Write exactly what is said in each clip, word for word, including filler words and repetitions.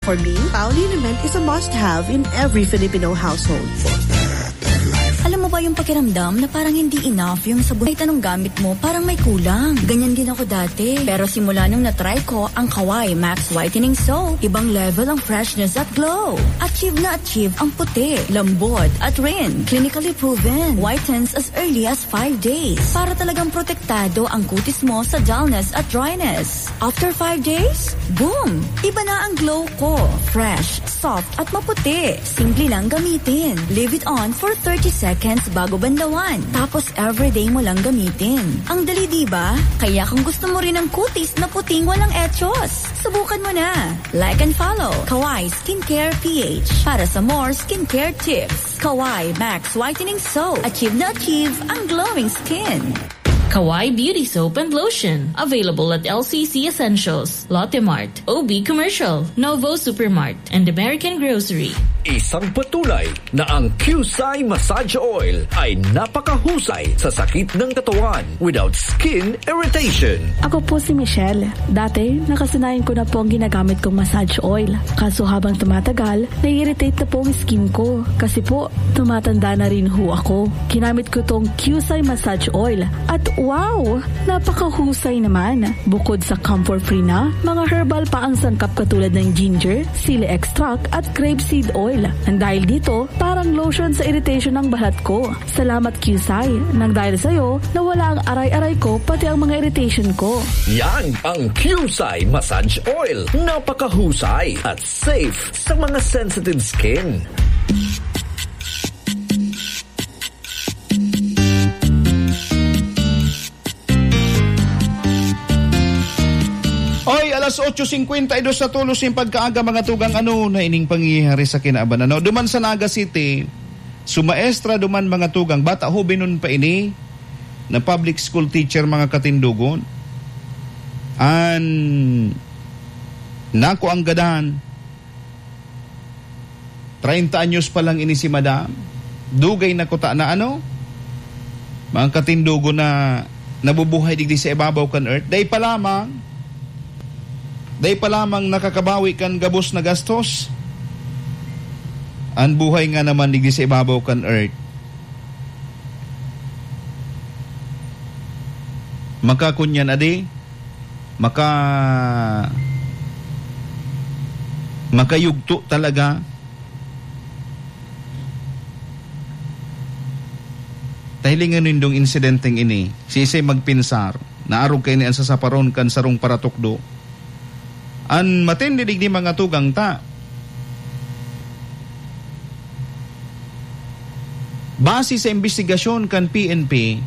For me, Paoli Liniment is a must-have in every Filipino household. Alam mo ba yung pakiramdam na parang hindi enough yung sabon? Kahit anong gamit mo, parang may kulang. Ganyan din ako dati. Pero simula nung na-try ko ang Kawai Max Whitening Soap, ibang level ang freshness at glow. Achieve na achieve ang puti, lambot, at rin. Clinically proven. Whitens as early as five days. Para talagang protektado ang kutis mo sa dullness at dryness. After five days, boom! Iba na ang glow ko. Fresh, soft, at maputi. Simple lang gamitin. Leave it on for thirty seconds bago banlawan. Tapos everyday mo lang gamitin. Ang dali, di ba? Kaya kung gusto mo rin ng kutis na puting walang echos, subukan mo na. Like and follow Kawai Skincare P H para sa more skincare tips. Kawai Max Whitening Soap. Achieve na achieve ang glowing skin. Kawai Beauty Soap and Lotion. Available at L C C Essentials, Lotte Mart, O B Commercial, Novo Supermart, and American Grocery. Isang patunay na ang Qusay Massage Oil ay napakahusay sa sakit ng katawan without skin irritation. Ako po si Michelle. Dati, nakasanayan ko na po ang ginagamit kong massage oil. Kaso habang tumatagal, nai-irritate na po ang skin ko. Kasi po, tumatanda na rin ho ako. Ginamit ko tong Qusay Massage Oil. At wow! Napakahusay naman. Bukod sa camphor-free na, mga herbal pa ang sangkap katulad ng ginger, sili extract at grape seed oil. Nang dahil dito, parang lotion sa irritation ng balat ko. Salamat, Qusay. Nang dahil sa'yo, nawala ang aray-aray ko, pati ang mga irritation ko. Yan ang Qusay Massage Oil. Napakahusay at safe sa mga sensitive skin. Oy, alas otso singkwenta y dos na tolos nin pagkaaga, mga tugang, ano na ining pangyayari sa kinaban, ano? Duman sa Naga City, sumaestra duman, mga tugang, bata, hobenon pa ini, na public school teacher, mga katindogon. An nako ang gadan, treinta anyos pa lang ini si madam. Dugay na kuta na, ano? Mga katindogon, na nabubuhay digdi sa ibabaw kan earth. Dai pa lamang, dai pa lamang nakakabawi kan gabos na gastos. An buhay nga naman digdi sa ibabaw kan earth. Makakunyan, adi? Maka-, makayugto talaga. Tahilingan nindong insidenteng ini, siisay magpinsar, naarog kaini an sasaparon kan sarong paratukdo. An matindi digdi, mga tugang, ta, base sa imbestigasyon kan P N P,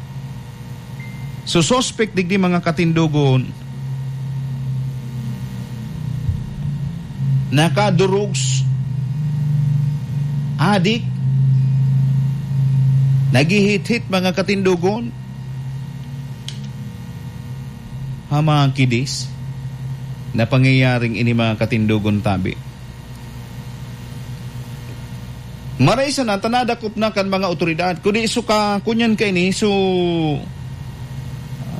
sususpek digdi, mga katindogon, naka-drugs adik, naghihit-hit, mga katindogon, ha mga kidis na pangyayaring ini, mga katindogon, tabi. Maray sana ta nadakop na kan mga awtoridad, kundi so ka-, kunyan kaini, so,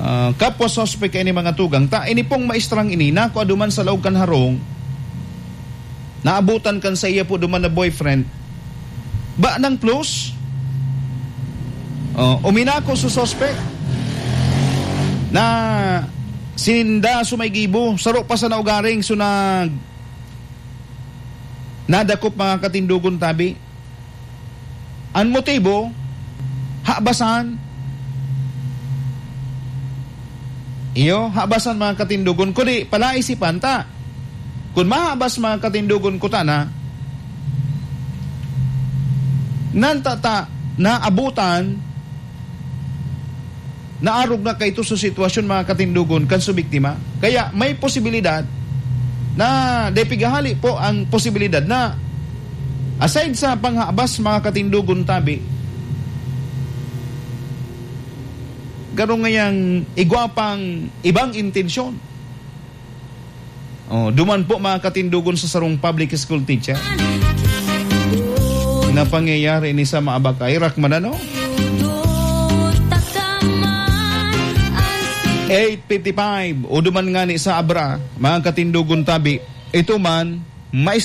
ah, kapwa suspek kaini, mga tugang, ta ini pong maestrang ini, nakua duman sa laog kan harong, naabutan kan saiya po duman na boyfriend, ba nang plus? Oh, uminako so suspek na sinda so may gibo, saro pa sana ugaring, so nag-, nadakop, mga katindogon, tabi. An motibo, habasan. Iyo, habasan, mga katindogon, kundi palaisipan ta. Kun mahabas, mga katindogon, kuta na, nantata, naabutan, naarog na kaito sa sitwasyon, mga katindogon, kan sa biktima. Kaya may posibilidad na, dai pighahali po ang posibilidad na, aside sa panghabas, mga katindogon, tabi, garo ngayang igwa pang ibang intensyon. Oh, duman po, mga katindogon, sa sarong public school teacher na pangyayari ni sa Maabakay, Rakman, ano? Eight fifty-five, o duman nga ni sa Abra, mga katindogon, tabi, ito man, mais